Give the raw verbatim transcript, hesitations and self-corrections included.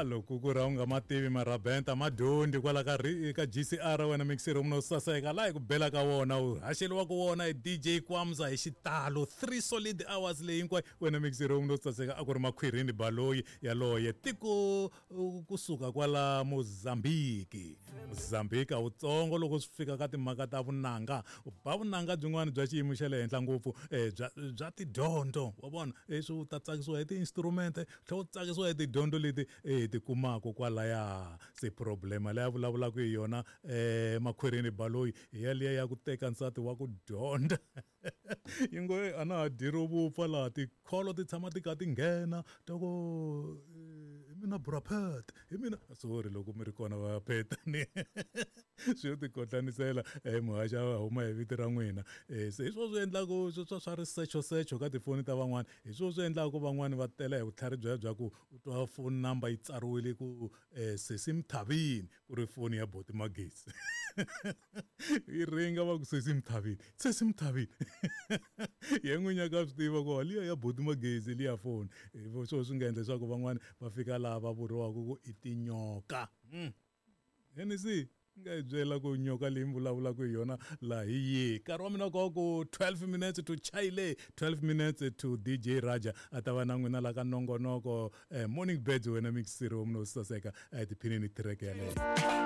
Ah, loko ku ri a wu nga ma tivi marabenta ma dyondzi kwala ka ri ka G C R wena mixer munhu saseka laha hi ku bela ka wona u haxeliwaka wona hi D J Kwamza hi xitalo three solid hours leyi hinkwayo wena mixer munhu saseka. A ku ri Makhwirini Baloyi yaloye tiko uh, kusuka kwala Mozambique. Mozambique a wutsongo loko swi fika ka timhaka ta vunanga, u ba vunanga byin'wana bya xiyimo xa le henhla ngopfu eh, bya bya tidyondzo wa vona. Leswi u ta tsakisiwa hi ti-instrument, tlhela u tsakisiwa hi tidyondzo leti eh, ti kumaka kwalaya. Se problema leyi a vulavulaka hi yona eh, Makhwirini Baloyi hi yaliya ya ku teka nsati wa ku dyondza yi ngo, "Ey, a na ha dyi ro vupfa laha tikholo ti tshama ti kha ti nghena ta ku eh, hi mina brapet hi mina." Sorry loko mi ri kona va petani swi yo tikotlanisela um muhaxa a huma hi vito ra n'wina. um se hi swo swi endlaku swa swa risechosecho ka tifoni ta van'wani, hi swo swi endlaku van'wani va tela hi vutlhari bya bya ku u twa phone number yi tsariwile ku um sesi Mthavini, ku ri foni ya boti Magezi yi ringa, va ku, "Sesi Mthavini, sesi Mthavini." Ye n'winyi ka swi tiva ku liya ya boti Magezi liya foni. Hi swo swi nga endla leswaku van'wani va fika laha va vuriwaka ku i tinyoka. mm. N C nga hi byela ku nyoka leyi mi vulavulaka hi yona laha hi yihi. Nkarhi wa mina ko ku twelve minutes to chile twelve minutes to D J Raja a ta va na n'wina la ka nongonoko eh, Morning Birds. Wena mixiri wa munhu wo saseka, eh, tiphinini tireke yaleyo.